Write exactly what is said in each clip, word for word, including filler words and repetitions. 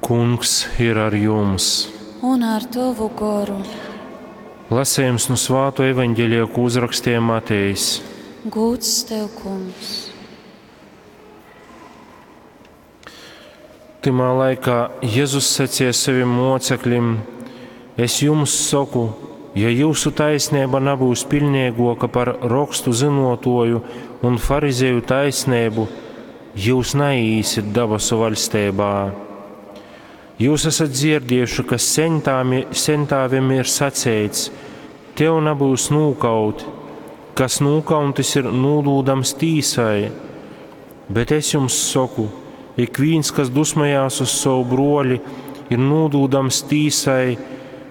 Kungs ir ar jums! Un ar tovu goru. Lasējums nu Svāto evaņģelija, ko uzrakstīja Matejs. Gūds tev, Kungs! Tymā laikā Jezus sacīja saviem mocekļiem: Es jums saku, ja jūsu taisnība nebūs pilnīgāka par rakstu zinotoju un farizeju taisnību, jūs neīsiet dabasu valstībā. Jūs esat dzirdējuši, ka sentāmi, sentāvim ir sacīts: Tev nebūs nūkaut, kas nūkauntis ir nūdūdams tīsai. Bet es jums saku, ik viens, kas dusmojās uz savu broli, ir nūdūdams tīsai,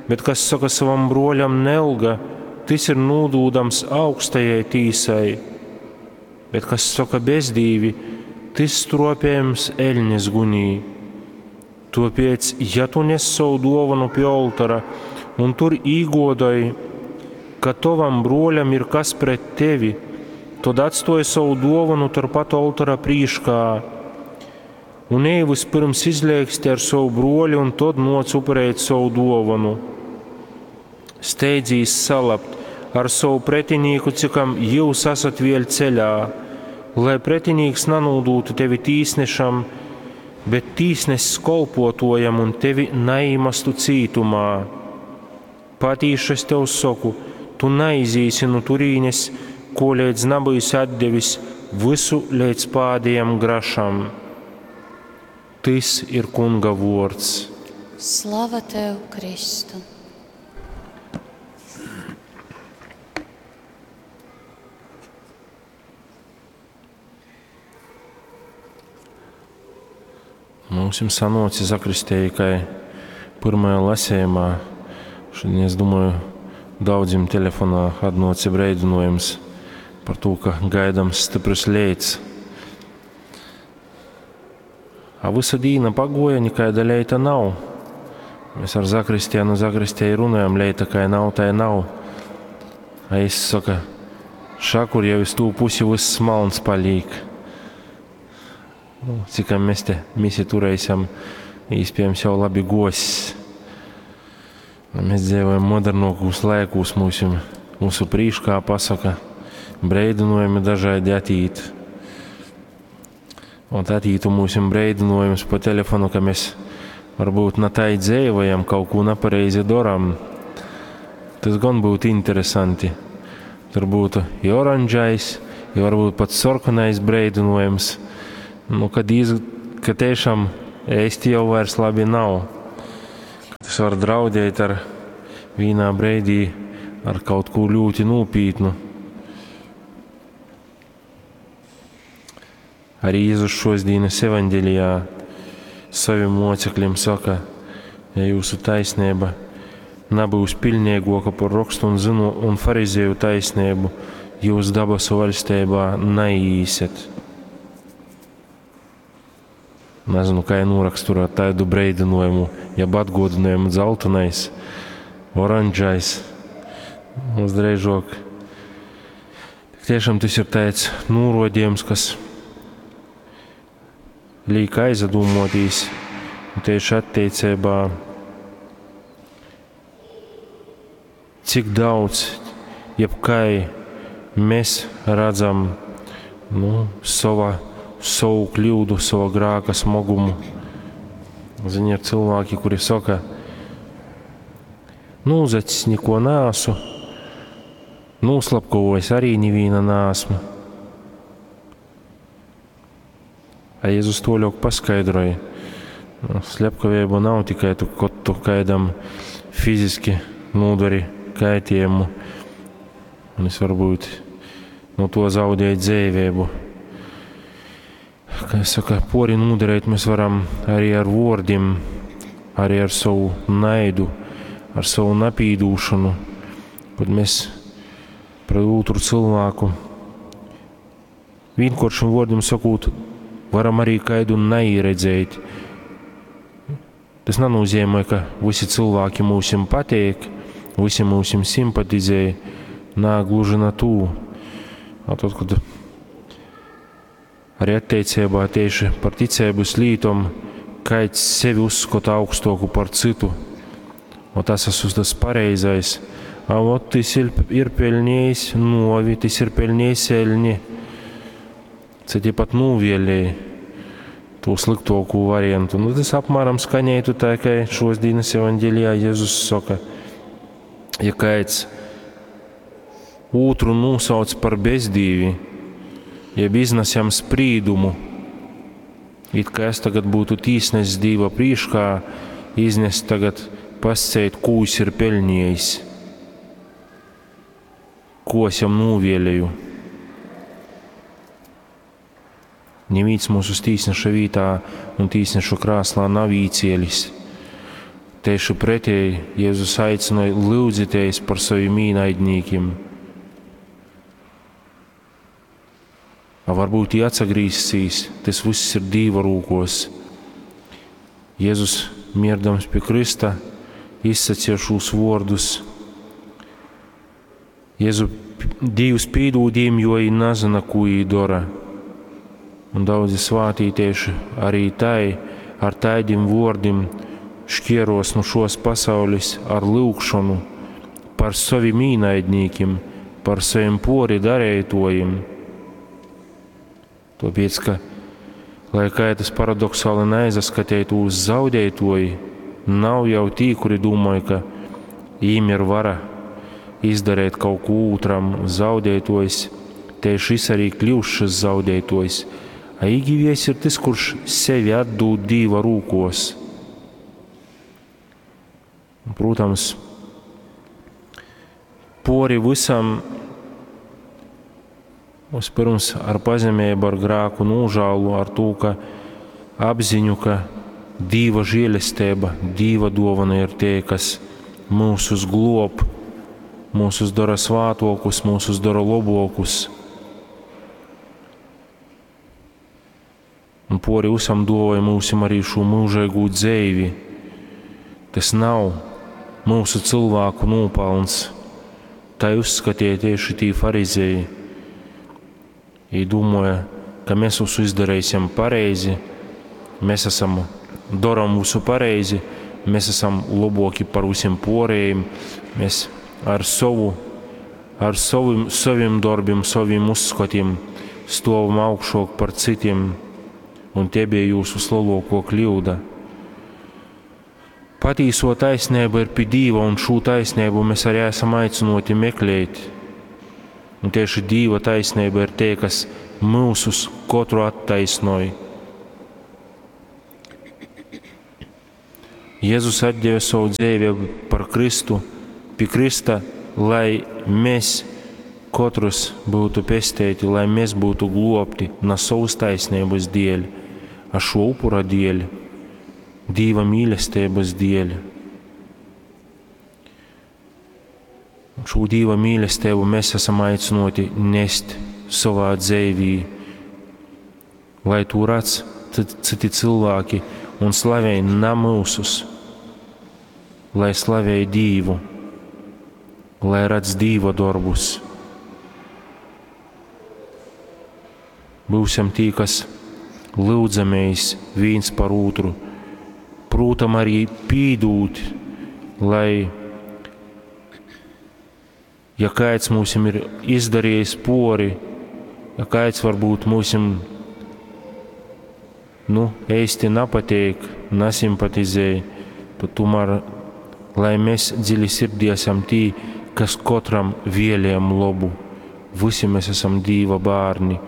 bet kas saka savam broļam nelga, tas ir nūdūdams augstajai tīsai. Bet kas saka bezdīvi, tas stropējams eļņas gunī. Tāpēc, ja tu nes savu dāvanu pie oltora un tur īgodoj, ka tavam broļam ir kas pret tevi, tad atstoj savu dāvanu turpat oltora prīškā un ej vispirms izlēksti ar savu broli un tad noc upurēt savu dāvanu. Steidzīs salabt ar savu pretinīku, cikam jūs esat vēl ceļā, lai pretinīks nanūdūtu tevi tīsnešam, bet tīsnesis kolpotojam un tevi neīmestu cītumā. Patīši es tev saku, tu neizīsi no turīnes, ko līdz nebūsi atdevis visu līdz pādējam grašam. Tas ir Kunga vārds. Slava tev, Kristu! Mums jums sanoci zakristēja, kai pirmajā lasējumā. Šodien, es domāju, daudziem telefonā atnoci breidinojums par to, ka gaidams stiprs leits. A visa dīna pagoja, nikaida leita nav. Mēs ar zakristienu zakristēju runājam, leita kai nav, tai nav. A es saka, šakur jau iz tū pusi viss malns palīk. Nu, cikam mēs te misi turēsim, iespējams jau labi gosis. Mēs dzīvojam modernākos laikos, mūsu, mūsu prīškā pasaka, breidinojumi dažādi atīt. Un atītu mūsim breidinojums pa telefonu, ka mēs varbūt na tai dzīvojam, kaut ko nepareizi daram. Tas gan būtu interesanti. Tur būtu i oranžais, i varbūt pat sarkanais breidinojums. Nu, kad iz, ka tiešām ēsti jau vairs labi nav. Tas var draudēt ar vienā breidī ar kaut ko ļoti nopietnu. Arī Jēzus šodienas evaņģēlijā saviem mocekļiem saka, ja jūsu taisnība nebūs pilnīgāka par rakstu un zinu un farizēju taisnību, jūs dabasu valstībā neīsiet. Nezinu, kā noraksturot tādu breidinājumu, jeb atgodinājumu dzeltenais, oranžais, mums drīzāk. Tik tiešām tas ir tāds norodījums, kas liek aizdomāties, un tieši attiecībā, cik daudz, jeb kā mēs redzam, nu, sava, savu kļūdu, savu grāka smagumu. Zini, ir cilvēki, kuri saka, nu, uzacis neko nāsu, noslapkavojis arī neviena nāsmu. A Jēzus to ļoti paskaidroja. Nu, slepkavība nav tikai tu, kad tu kaidam fiziski nodari kaitējumu, un es varbūt no to zaudēju dzīvību. Kā es saku, pori nodarīt mēs varam arī ar vārdiem, arī ar savu naidu, ar savu napīdūšanu, kad mēs pret otru cilvēku vienkāršiem vārdiem sakot, varam arī kaidu neieredzēt. Tas nenozīmē, ka visi cilvēki mūsim patīk, visi mūsim simpatizē, nā, gluži na tū. A tad, kad arī attiecībā tieši par ticības lītom Kaids sevi uzskota augstoku par cytu, ot es esmu tas pareizais, a ot tys ir, ir peļnējis nuovi, tys ir peļnējis eļni. Citi pat nūvēlēja tū sliktokū variantu. Nu, tas apmēram skanētu tā, kā šos dienas evaņģelijā Jēzus soka, ja kāds ūtru nūsauc par bezdīvi, jeb iznes jam sprīdumu, it kā es tagad būtu tīsnesis Dīva prīškā, iznest tagad pasceit, kū jis ir peļniejis, ko es jam nūvēlēju. Neviens mūsu tīsneša vītā un tīsnešu krāslā nav īcielis. Tieši pretēji Jēzus aicināja lūdzieties par saviem īnaidniekiem. A varbūt jī atsagrīzsīs, tas viss ir Dīva rūkos. Jēzus, mierdams pie Krista, izsacīja šos vārdus. Jēzu, Dievs pīdūd jiem, jo viņi nezina, ko viņi dara. Un daudzi svātītieši arī tai, ar taidim vārdiem šķieros no šos pasaules ar lūgšanu par saviem īnaidniekiem, par saviem pori darētojiem. Tāpēc, ka, lai kā tas paradoksāli neaizaskatītu uz zaudētoji, nav jau tī, kuri domāja, ka viņiem ir vara izdarīt kaut ko otram, zaudētojs, tieši šis arī kļūst šis zaudētojs. A īgivies ir tas, kurš sevi atdūd Dīva rūkos. Un, protams, pori visam vispirms ar pazemību, ar grēku nožēlu, ar to, ka apziņu, ka Dīva žēlestība, Dīva dāvana ir tie, kas mūsus glob, mūsus dara svātokus, mūsus dara labokus. Un pori visam dāvāja mūsim arī šo mūžīgo dzīvi. Tas nav mūsu cilvēku nopelns. Tā uzskatīja tieši tī farizēji. Viņi domāja, ka mēs visu izdarīsim pareizi, mēs esam daram visu pareizi, mēs esam labāki par visiem pārējiem, mēs ar savu, ar savim, saviem darbiem, saviem uzskatiem stāvam augšāk par citiem, un tie bija jūsu lielāko kļūda. Patīso taisnība ir pie Dīva, un šo taisnību mēs arī esam aicināti meklēt. Un tieši Dīva taisnība ir tie, kas mūsus katru attaisnoja. Jēzus atdeva savu dzīvi par Kristu, pie Krista, lai mēs katrs būtu pestīti, lai mēs būtu globti na savas taisnības dēļ, a šo upura dēļ, Dīva mīlestības dēļ. Un šo Dīva mīlestību mēs esam aicināti nest savā dzīvī, lai to redz citi cilvēki un slavē na mūsus, lai slavē Dīvu, lai redz Dīva darbus. Būsim tī, kas lūdzamies viens par otru, prūtam arī pīdūt, lai, ja kāds mūsim ir izdarījis pori, ja kāds varbūt mūsim, nu, īsti nepatīk, nesimpatizē, tad tomēr, lai mēs dziļi sirdī esam tī, kas katram vēlējam labu. Visi mēs esam Dīva bērni,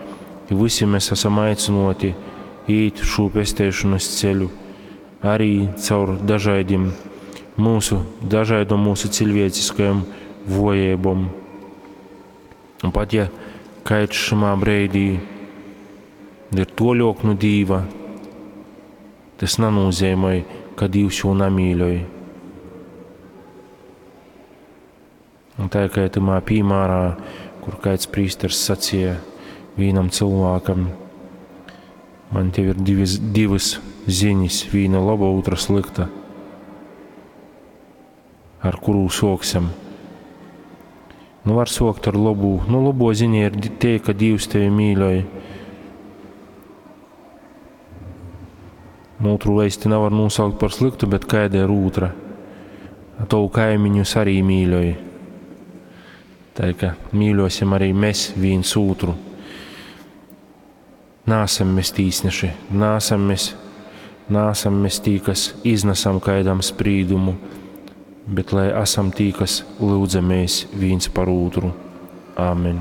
visi mēs esam aicināti īt šo pestēšanas ceļu, arī caur dažādiem mūsu, dažādom mūsu cilvēciskajām vojībām. Un pat ja kāds šimā brīdī ir toļok no Dīva, tas nenozīmē, ka Dievs jū nemīļoj. Un tā kā tamā piemērā, kur kāds prīsters sacīja vienam cilvēkam, man tev ir divas, divas ziņas, viena laba, otra slikta, ar kuru soksim. Nu, var sokt ar labu. Nu, labo ziņa ir tie, ka Dievs tevi mīļoja. Nu, ūtru eisti navar nūsaukt par slyktu, bet kaida ir ūtra? Tovu kaimiņus arī mīļoj. Tā ka mīļosim arī mēs viens ūtru. Nāsam mēs tīsneši, nāsam mēs, nāsam mēs tī, kas iznasam kaidam sprīdumu, bet lai esam tī, kas lūdzamies viens par ūtru. Āmen.